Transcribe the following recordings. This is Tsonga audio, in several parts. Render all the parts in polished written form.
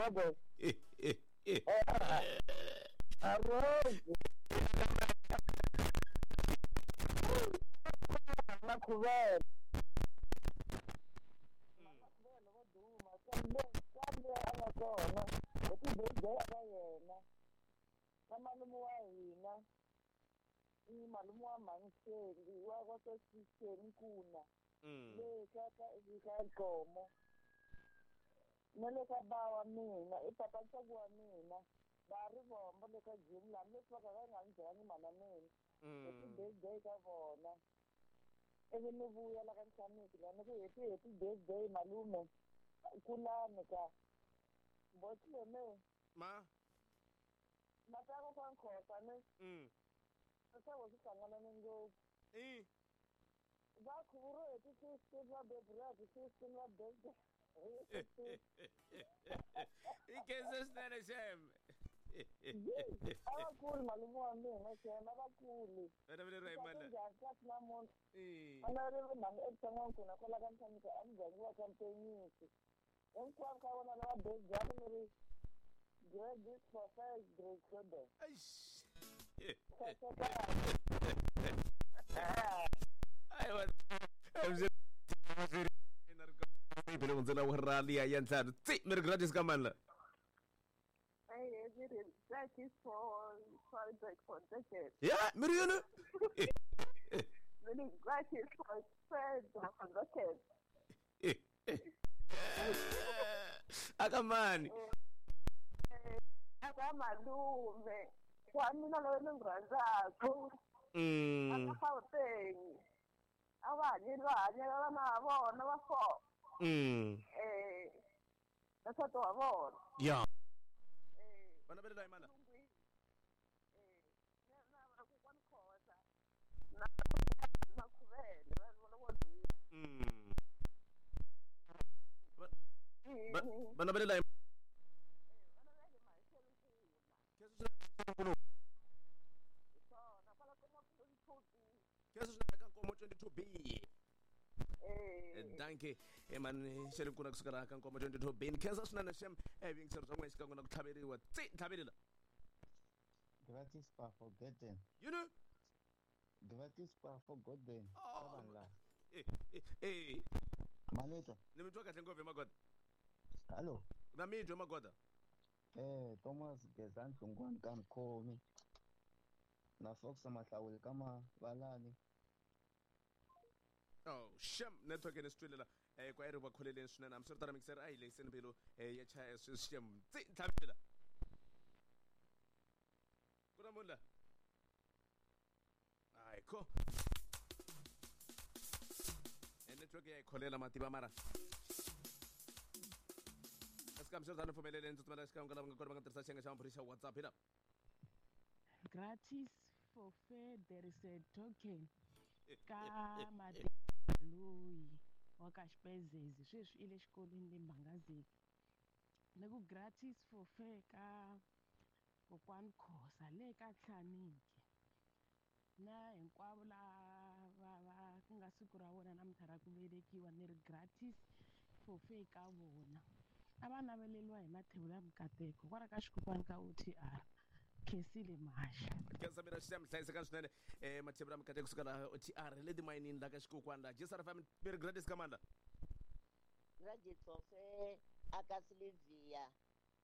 Gogo. Arroz. Makhuvele. Makhuvele vo duma kambe kambe a nga kona hi ti-birthday ka yena na malume wa hina i malume wa mhani wa wa ka Sixeni Nkuna le ka ka ka Nkomo na le ka ba wa mina i papa ntsongo wa mina va ri vombo le ka gym laha leswi va ka va nga ni byelangi mhana mina hi ti-birthday ka vona ivi ni vuya la ka Nhlaniki la ni ku happy happy birthday malume kulani ka botleme ma matako kwa nkhosa ne swi swi hlanganane ngopfu i va khuvuriwe hi ti-16 va beburiwa hi ti-16 va birthday i khensa swinene xem a va kuli malume wa mina xem a va kuli vana va le ra yimana njhani kasi namuntlha i vana ri mhani evuton'wankuna kwala ka Nhlaniki a muganga wa ka Mpenyisi hinkwavo ka vona lava birthday ni ri graduate for first grade children Eish. Aiwa. Bele hundzela wa rali ya ntlhanu tsi mi ri gratis ka mani la Gratis for for decades. ya mi ri yini Really gratis for for decades. aka mani Aka malume wa mina loyi ni n'wi rhandzaka aka Gauteng a va hanyeli va hanyela vana va vona va four na nsati wa vona ya vana va le la yimana na na kokwani Khosa na Makhuvele vanhu vona vo duma vana va le la vana va le Maxelo Nkuna hi swona kwala ka ma-22B khensa swinene ka Nkomo 22B. Dankie mani xele nkuna kusuka laha ka Nkomo 22B ni khensa swinene xem vuyingiseri bya n'wina xikan'we na ku tlhaveriwa tsi ntlhavelela Gratis pa forgotten. yini Gratis pa forgotten. Ka vanhu lava. Manetwa. Ni mi twa kahle ngopfu hi magoda. Hallo. Na mi twa magoda. Thomas Gezani Hlongwane ka Mkhomi. Na Fox Mahlawuli ka Mavalani. Oh, shem network ni swi twilela kwa ri va kholeleni swinene hambiswiritano mixer a yi lehiseni mbilu ya chaya sweswi shem tsi ntlhavelela ku na munhu la hayi kho network ya yi kholela mativa mara kasi hambiswiritano pfumeleleni ndzi tsutsumela xikan'we ka lava nga kona va nga tirhisa xiyenge xa maphorisa xa WhatsApp hi la Gratis for fair there is a token ka Matimba loyi wa ka Xipezezi sweswi i le xikolweni le Mbangazini ni ku gratis for fair ka kokwani Khosa le ka Nhlaniki na hinkwavo lava va ku nga siku ra vona namuntlha ra ku velekiwa ni ri gratis for fair ka vona a va naveleliwa hi mathebula ya mikateko kwala ka xikokwani ka OTR Khensile Maxa. Khensa mina xi hlayiseka swinene mathebula mikateko kusuka laha OTR le timayinini la ka xikokwani la JSR FM mi ri gratis ka mani la Gratis for fair aka Silivia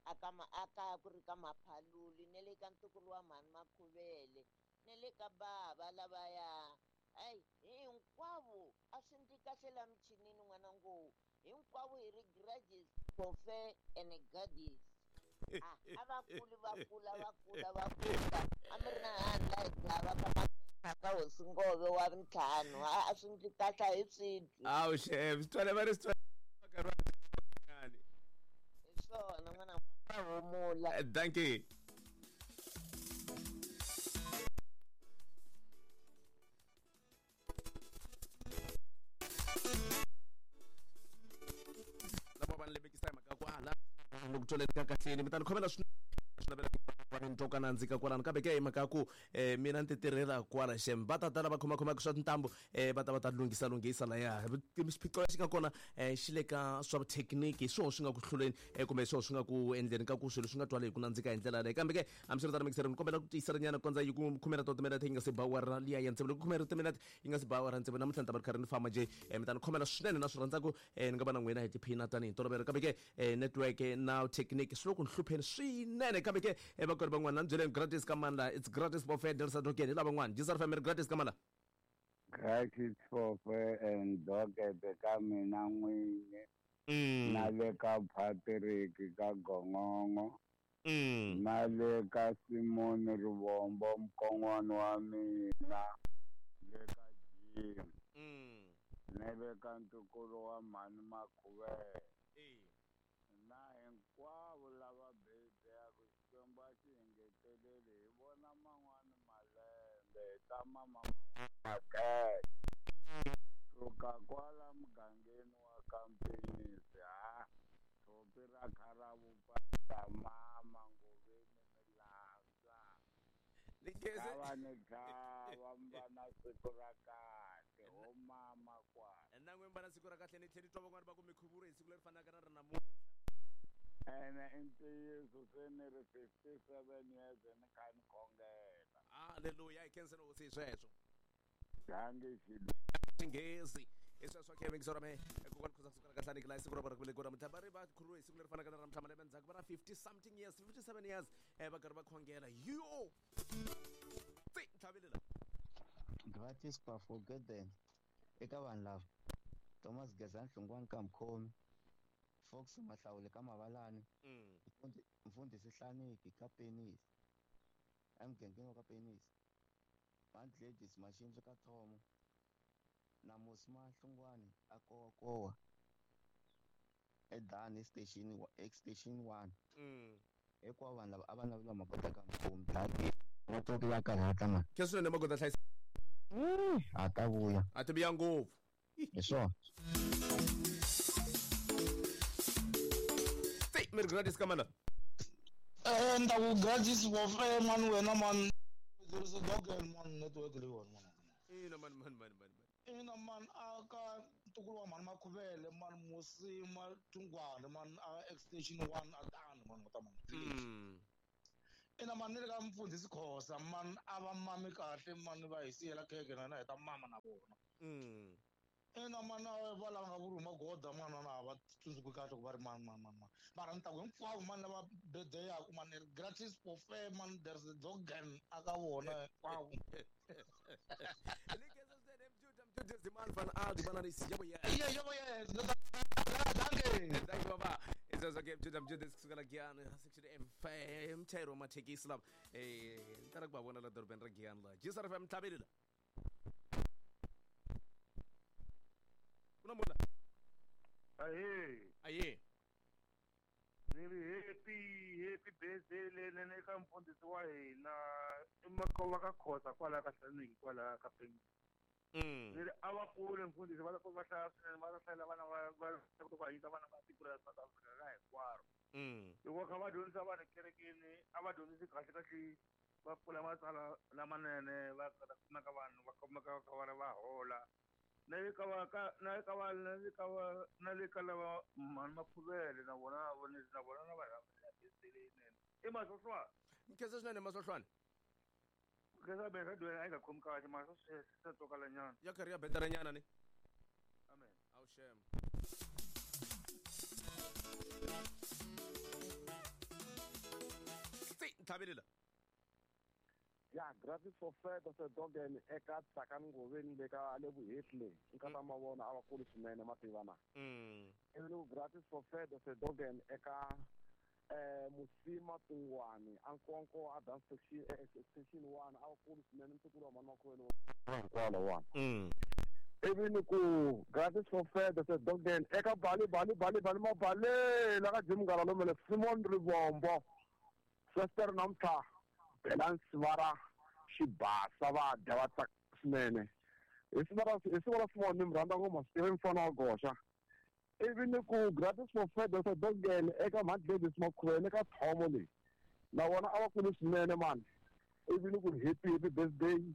aka aka ku ri ka Maphaluli ne le ka ntukulu wa mhani Makhuvele ne le ka bava lavaya hayi hinkwavo a swi ndzi kahle la michinini n'wana ngo hinkwavo hi ri gratis for fair and gardis a va kuli va kula va kula va kula a mi ri na hani la hi gava ka Makhensa ka hosi Ngove wa ntlhanu a swi ndzi kahle hi swi twi awu xem swi twale va ri swi twale hi swona n'wana va humula dankie lava va ni lemekisa hi mhaka ku a la loko twaleni ka kahleni mi ta ni khomela swinene swi navela va ni twa ka nandzika kwalano kambe ke hi mhaka ya ku mina ni ti tirhela kwala xem va ta ta lava khomakhomaka swa tintambu va ta va ta lunghisa lunghisa laya xiphiqo lexi nga kona xi le ka swa vuthekiniki hi swona swi nga ku hluleni kumbe hi swona swi nga ku endleni ka ku swilo swi nga twali hi ku nandzika hi ndlela yaleyo kambe ke hambiswiritano mixere ni kombela ku tiyiselanyana ku kondza yi ku khume ra timinete yi nga se ba awara liya ya tsevu loko khume ra timinete yi nga se ba awara tsevu namuntlha ni ta va ri karhi ni famba njhe mi ta ni khomela swinene na swi rhandzaku ni nga va na n'wina hi tiphina tanihi ntolovelo kambe ke network na technique swi le ku ni hlupheni swinene kambe ke vakweri van'wana ni byeleni gratis ka mani it's gratis bofe delsa dokeni hi lava van'wana jisar family gratis ka mani Gratis fofe and dokete ka mina n'winyi na le ka Patrick ka Gongongo na le ka Simon Rivombo mukon'wana wa mina le ka Jim na le ka ntukulu wa mhani Makhuvele na hinkwavo lava bedeyaku Xikwembu a xi engeteleli hi vona man'wani malembe hi ta mama man'wani makete suka kwala mugangeni wa Kampenisi ha tshopi ra kharavupa mama ngoveni milandza lava ni tlhava mi va na siku ra kahle ho mama kwala na n'we mi va na siku ra kahle ni tlhela ni twa van'wani va ku mi khuvuriwe hi siku leri fanaka na ra namuntlha ene i ntiyiso se ni ri 57 years ni kha ni khongela halleluya hi khenseni hosi hi sweswo dange xinghezi hi sweswo khe mingiso ra mehe kokwani khoza kusuka ra kahlani la siku ra vona ku namuntlha va ri va khuvuriwe hi siku leri fanaka na ra namuntlha malembe ndzhaku va na 50 something years 57 years va karhi va khongela yo tsi ntlhavelela Gratis Pafogeden eka vanhu lava Thomas Gezani Hlongwane ka Mkhomi Fox Mahlawule ka Mavalani Mfundhisi Hlaniki ka Penisi emugangeni wa ka Penisi Aunt Ladies Mashinzo ka Thomo na Musma Hlongwane a Kowakowa eDani station extension 1 hinkwavo vanhu lava a va naveliwa magoda ka Mkhomi daki network ya karhata mani khe swinene magoda hlayisa a ta vuya a ti vuya ngopfu hi swona tsi mi ri gratis ka mani ni ta ku gratis bofe mani wena mani there is a dog and man network leyiwani mani ina mani mani mani mani ina mani a ka ntukulu wa mhani Makhuvele mani Musima Thungwane mani a extension 1 a tani mani ngota mani ina mani ni le ka mfundhisi Khosa mani a va mami kahle mani va hi siyela khekhe na hina hi ta mama na vona ina mani va lava nga vuriwi magoda mani na va tsundzuki kahle ku va ri mani mani mani mani mara ni ta ku hinkwavo mani lava bedeyaku mani gratis buffet mani there's a dogan a ka vona hinkwavo Thank you baba isezwa ke mjuda mjuda kusukela Giyani section M5 mchayeri wa mathekisi lava ni tala ku va vona la dorobeni ra Giyani la Jisar FM ntlhaveli la ku na munhu la Ahee. Ahee. Ni ri happy birthday leyinene eka mfundhisi wa hina i Makova ka Khosa kwala ka Hlaniki kwala ka Penisi. Ni ri a va kule mfundhisi va va hlaya swinene va ta hlayela vana va va ku hanyisa vana va tiko ra South Africa ka hinkwaro. Loko va kha va dyondzisa vanhu ekerekeni a va dyondzisi kahle kahle va pfula matsalwa lamanene va ta kumeka vanhu va kumeka va kha va ri va hola na le ka va ka na le ka va na le ka va na le ka lava mhani Makhuvele na vona na vona na va rhambela birthday leyinene i Masohlwana nkhensa swinene Masohlwana nkhensa be radio a yi nga khomi kahle mara swa swa twakala nyana ya karhi ya betara nyana ni amen awu shem tsi ntlhavelela ya gratis for fed se dogen eka Tsakani Ngoveni le ka le Vuhehle nkata mavona a va kuli swinene mativa na ivi ni ku gratis for fed se dogen eka Musima Tungwani a Nkonko a Dan section station 1 a va kuli swinene ntukulu wa mhani Makhuvele hinkwalo wona ivi ni ku gratis for fed se dogen eka Bali Bali Bali Bali Mabale la ka Jim Ngalomele Simon Rivombo Sister namuntlha Balance va ra xibasa va dya va tsaka swinene hi siku ra Simon ni mi rhandza ngopfu swi tiva mfana wa goxa ivi ni ku gratis for fed se dogen eka Mhani Gladys Makhuvele ka Thomo leyi Na vona a va kuli swinene mani. Ivi ni ku happy happy birthday.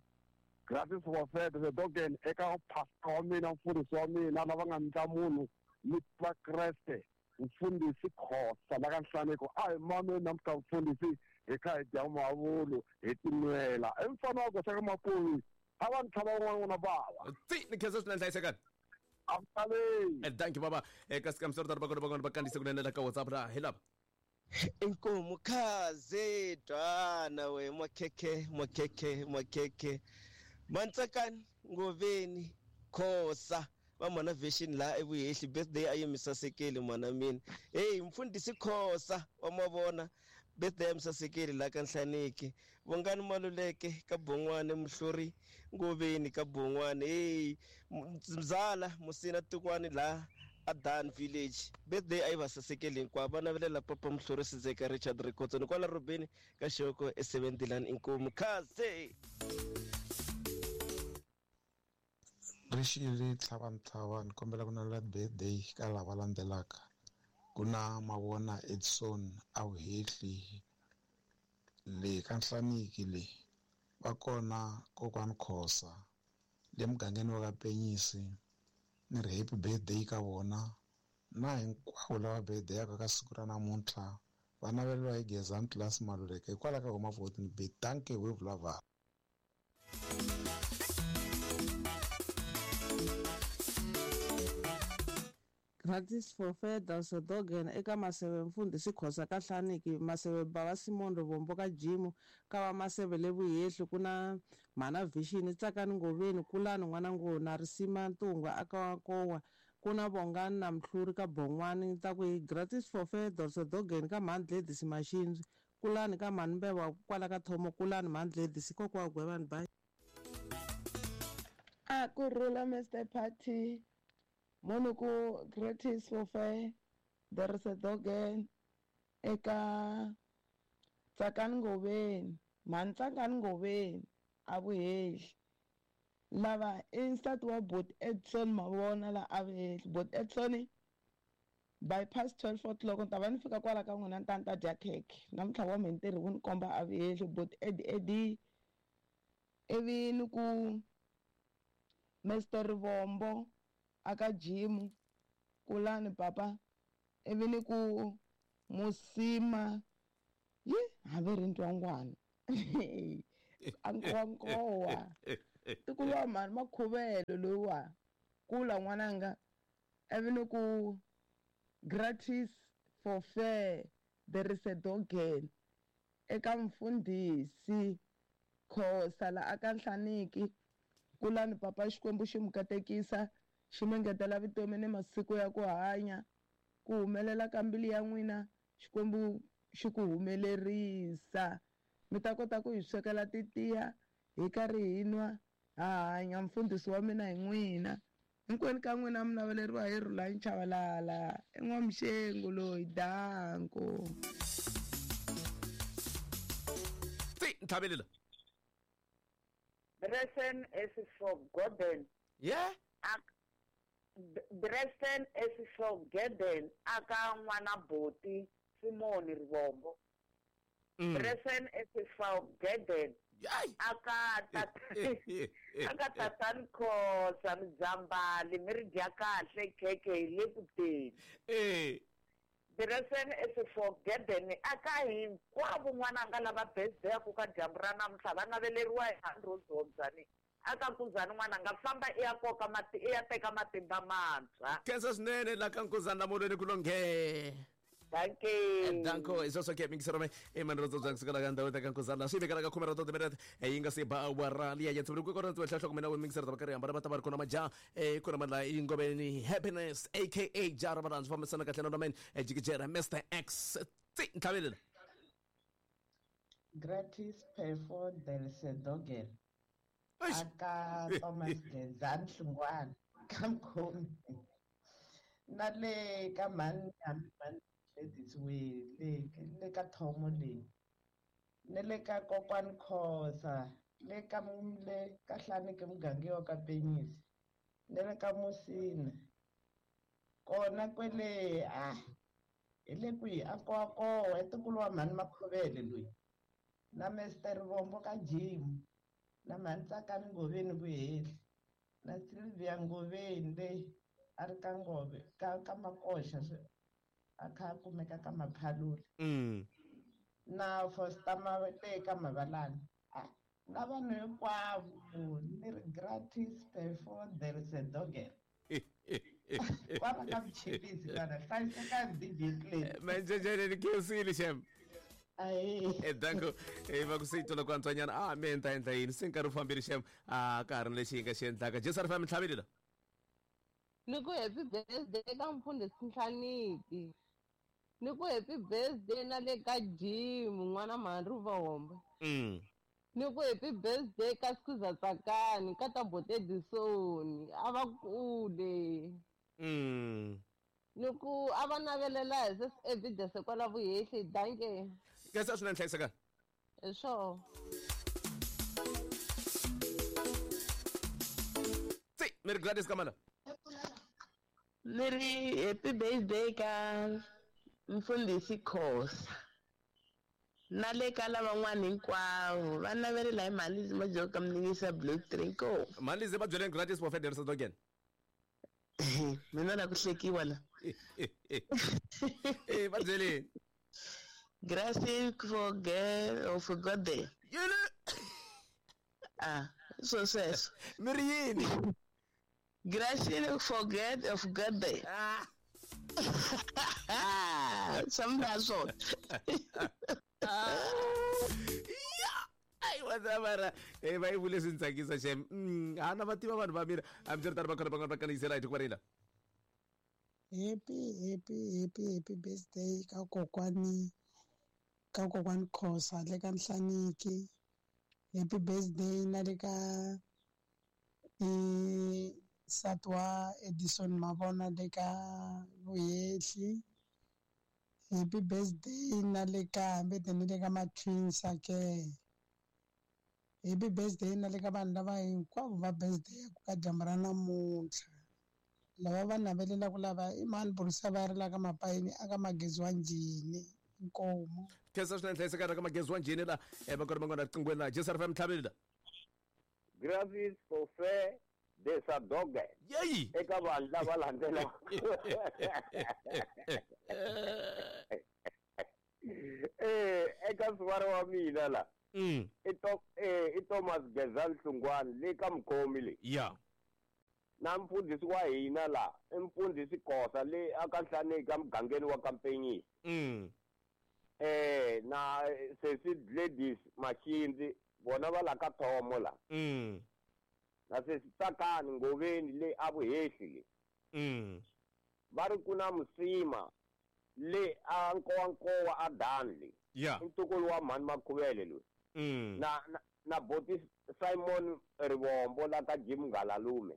Gratis for fair the dogen eka pastor wa mina mfundhisi wa mina lava nga ndla munhu ni va Kreste mfundhisi Khosa la ka Nhlaneko a hi mame namuntlha mfundhisi hi kha hi dya mavulu hi tinwela i mfana wa goxa ka mapuvi a va ni tlhava un'wana n'wana bava ti ni khensa swinene hlayisekani amtalei thank you baba kasi kamisero va kona van'wana va kandziyise kunene la ka WhatsApp la hi lava Inkomu khaze twana we makhekhe makhekhe makhekhe Mantsakani Ngoveni Khosa va mhana version la evuhehli birthday a yi mi sasekeli mhana mina hey mfundhisi Khosa wa mavona birthday ya mi sasekeli la ka Nhlaniki Vongani Maluleke ka Bon'wane Muhluri Ngoveni ka Bon'wane hey Mzala Musina Tukwani la Adan Village birthday a yi va sasekeli hinkwavo va navelela papa Muhluri Sizeka Richard Rikhotso ni kwala Rubeni ka Xoko e7 inkomu khaze Rixile tlhava ni kombela ku navela birthday ka lava landzelaka ku na Mavona Edson a Vuhehli le ka Nhlaniki le va kona kokwani Khosa le mugangeni wa ka Penyisi ni ri happy birthday ka vona na hinkwavo lava birthday yaka ka siku ra namuntlha va naveleriwa hi Gezani Class Maluleke hikwalaho ka huma 14 b danke we vulavula. Gratis for Feathers Dogen eka Maseve mfundhisi Khosa ka Hlaniki Maseve Bava Simon Rivombo ka Jimu ka va Maseve le Vuhehli ku na Mhana Vision Tsakani Ngoveni Kulani n'wana Ngona Risima Ntungwa aka Nkowa ku na Vongani na Mhluri ka Bon'wani ta ku Gratis for Feathers Dogen ka Mhani Gladys Maxindzi Kulani ka Mhani Mbeva kwala ka Thomo Kulani Mhani Gladys kokwa Gwevani bye. A ku rhula Mr Party Munhu ku gratis for fair there is a dogen eka Tsakani Ngoveni Mhani Tsakani Ngoveni a Vuhehli lava i nsati wa Bot Edson Mavona la a Vuhehli Bot Edson by past 12 o'clock ni ta va ni fika kwala ka n'wina ni ta ni ta dya khekhe namuntlha wa mehe ntirho wu ni komba a Vuhehli Bot Ed Edi ivi ni ku Mr Rivombo aka Jimu Kulani papa ivi ni ku Musima yi hambi ri ntwangwana ankowankowa tikuva mhani makhuvelo lowa kula n'wananga ivi ni ku gratis for fair there is a dogen eka mfundhisi Khosa la aka Nhlaniki Kulani papa Xikwembu xi mu katekisa xi mi ngetela vutomi ni masiku ya ku hanya ku humelela ka mbilu ya n'wina Xikwembu xi ku humelerisa mi ta kota ku hi swekela titiya hi karhi hi nwa ha hanya mfundhisi wa mina hi n'wina hinkwenu ka n'wina mi naveleriwa hi Rhulani Chavalala i n'wamuxengu loyi danko ti ntlhavelela Dresden is for Gordon. Yeah. Dresden is for Gordon aka n'wana Boti Simon Rivombo. Dresden is for Gordon. Aka aka tatani Khosa Mzambali mi ri dya kahle khekhe hi le ku teni. Dresden is for Gordon aka hinkwavo n'wananga lava birthday ku ka dyambu ra namuntlha va naveleriwa hi Andrew aka Nkuzani n'wananga famba i ya koka mati i ya teka matimba mantshwa. Khensa swinene la ka Nkuzani lamolweni ku longhe. Danke. Danko is also keeping sirome e manrozo jang sukala ka ndhawu ta ka Nkuzani swi vekela ka khume ra timinete yi nga se ba awara liya ya tsibiri ku kona hloko hloko mina mixer ta karhi hambana va ta va ri kona maja kona mandla yi Ngoveni Happiness aka Jara va fambisana kahle na men jikijera Mr X ti ntlhavelela. Gratis for there is a dogen aka Thomas Gezani Hlungwana ka Mkhomi na le ka mhani mhani Ladies we le ka Thomo le ne le ka kokwani Khosa le ka le ka Hlaniki muganga wa ka Penyisi ne le ka Musina kona kwele Hi le kwihi a Nkowankowa i ntukulu wa mhani Makhovele loyi. Na Mr Rivombo ka Jim. Na mhani Tsakani Ngoveni Vuhehli. Na Sylvia Ngoveni leyi a ri ka Ngove ka Makoxa a kha a kumeka ka Maphalule. Na Foster le ka Mavalani. Na vanhu hinkwavo ni ri gratis before there is a dogel. Kwala ka Mchilisi kana hlayisekani DJ Clay. Manjejene ni khensile xem. Ahe. Danko va ku se yi twela ku antswanyana a mi endla endla yini se nkarhi wu fambile xem a ka ha ri na lexi hi nga xi endlaka Jesu a ri fambi ntlhaveli la. Ni ku happy birthday ka mfundhisi Nhlaniki. Ni ku happy birthday na le ka Jim n'wana mhani Rivombo. Ni ku happy birthday ka Skuza Tsakani ka Tabote Edison a va kule. Ni ku a va navelela hi se evidence kwala Vuhehli danke. Khensa swinene hlayisekani. Hi swona. Tsi, mi ri Gladys Kamala. Ni ri happy birthday ka mfundhisi Khosa. Na le ka lavan'wana hinkwavo va navelela hi mhani Majoka ka Mninisa Blue Trinko. Mhani Lizzy va byeleni Gladys for Federer Dogen. Mina la ku hlekiwa la. Va byeleni. Gracias for girl or for God day. Yini? Ah, so sweswo. Mi ri yini? Gracias for God of God day. Ah. Swa swona. Ai wa mara va yi vule swi ni tsakisa xem. A na va tiva vanhu va mina. Hambiswiritano va kona van'wana va kandziyisela hi tiko rila. Happy happy happy happy birthday ka kokwani Khosa le ka Nhlaniki. Happy birthday na le ka nsati wa Edison Mavona le ka Vuhehli. Happy birthday na le ka hambi ni le ka ma-twins ke. Happy birthday na le ka vanhu lava hinkwavo va birthday ka dyambu ra namuntlha. Lava va navelelaka lava i mani Borisa va ri la ka Mapayini aka Magezi wa Njhini inkomu. Khensa swinene hlayisekani ka Magezi wa Njhini la va kona van'wana riqinghweni la Jesu a ri fa mintlhaveli la. Gratis for fair there's a dog. Yeyi. Eka vanhu lava landzelaka. Eka sivara wa mina la. I Thomas Gezani Hlungwani le ka Mkhomi le. Yeah. Na mfundhisi wa hina la, i mfundhisi Khosa le aka Nhlaneki ka mugangeni wa Kampenyisi. Na sesi Gladys Mashindzi vona va la ka Thomo la. Na sesi Tsakani Ngoveni le a Vuhehli le. Va ri ku na Musima le a Nkowankowa a Dan le. Yeah. I ntukulu wa mhani Makhuvele loyi. Na boti Simon Rivombo la ka Jim Ngalalume.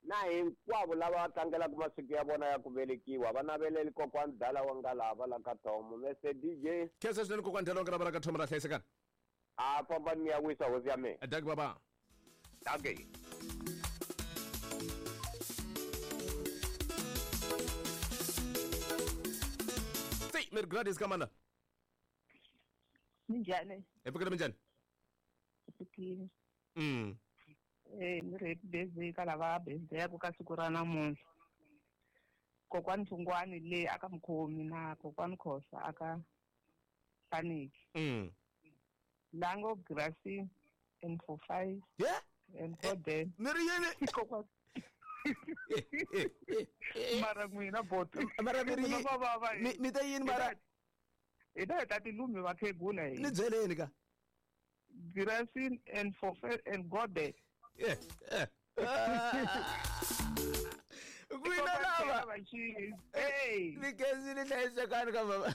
Na hinkwavo lava va tlangelaka masiku ya vona ya ku velekiwa va naveleli kokwani Dala wa Ngalava la ka Thomo. Mr DJ. Khensa swinene kokwani Dala wa Ngalava la ka Thomo ra hlayisekani. A fambani mi ya wisa hosi ya mina. Danki baba. Danki. Tsi, mi ri Gladys Kamala. Minjhani? Hi pfukile minjhani? Pfukile. Ni ri happy birthday ka lava birthday ka siku ra namuntlha. Kokwani Hlungwani le aka Mkhomi na kokwani Khosa aka Nhlaneki. Lango Gracie and for 5. Yeah. And for them. Ni ri yini? Kokwani. Mara n'wina boto. Mara mi ri yini? Mi ta yini mara? Hi ta hi ta tilumi vakhegula hi. Ni byeleni ka. Gracie and for 5 and God there. N'wina lava. Ni khensile hlayisekani ka baba.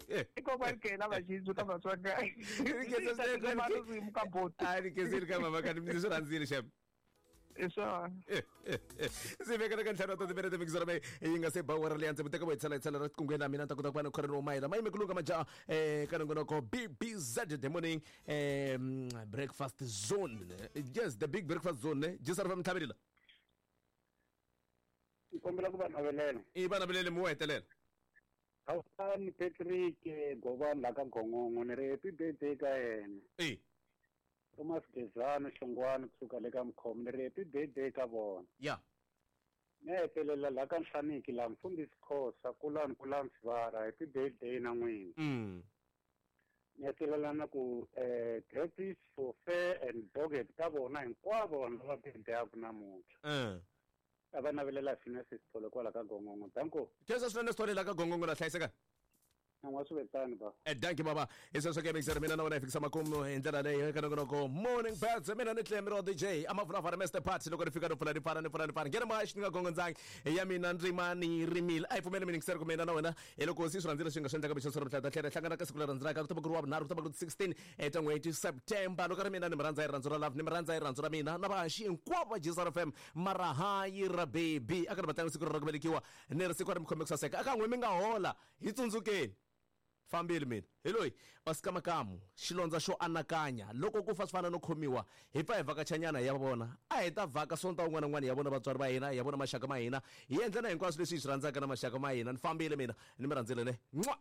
I kokwani Kela Vaxindzu ka Vatswaka. Ni khensile ka boto. A ni khensile ka mama ka ni swi rhandzile xem. I swona. Ndzi vekela ka ntlhanu wa timinete mikisoro leyi yi nga se ba awara leyi ndzi teka vo hi tshala ra tikungweni na mina ni ta kota ku va ni khoreni wo mayela ma yime ku lunga majaha ka nongonoko BBZ the morning breakfast zone. Yes, the big breakfast zone. Jesu a ri fa mintlhaveli la. Ni kombela ku va navelela. I va navelele mi wo hetelela. Khawusani Patrick Govani la ka Gongongo ni ri happy birthday ka yena. E. Thomas Gezani Hlongwane kusuka le ka Mkhomo ni ri happy birthday ka vona. Ya. Ni hetelela la ka Nhlaniki la Mfundhisi Khosa kulani kulani Sivara happy birthday na n'wina. Ni hetelela na ku gratis for fair and dogged ka vona hinkwavo vanhu lava birthday-aku namuntlha. A va navelela Phineas Sithole kwala ka Gongongo. Danko. Khensa swinene Sithole la ka Gongongo la hlayiseka. Nwa swi vetani ba. Danki baba. Hi sweswo ke mixer mina na wena hi fikisa makumu hi ndlela leyi eka nongonoko Morning Birds. Mina ni Clem Ro DJ amavulavula Mr Party loko ni fika ni pfula ni pfala ni pfula ni pfala. Nghena ma xi ni nga gongondzangi ya mina ndzima ni rimile. A hi pfumeli mina ngiseri ku mina na wena hi loko si swi rhandzile swi nga swi endlaka mixo swi ri tlhela hi hlangana ka siku leri rhandzelaka ku ta va ku ri wa vunharhu ku ta va ku ri 16 ta n'hweti September. Loko ri mina ni mi rhandza hi rirhandzu ra love ni mi rhandza hi rirhandzu ra mina na vahaxi hinkwavo va JSR FM mara hayi ra baby a ka ri vatlangi siku ra ku velekiwa ni ri siku ri mi khome ku saseka aka n'we mi nga hola hi tsundzukeni fambile mina hi loyi Oscar Makamu xilondza xo anakanya loko ku fa swi fana no khomiwa hi pfa hi vhakachanyana hi ya vona a hi ta vhaka sonta un'wana na un'wana hi ya vona vatswari va hina hi ya vona maxaka ma hina hi endla na hinkwaswo leswi hi swi rhandzaka na maxaka ma hina ni fambile mina ni mi rhandzile ne n'wa.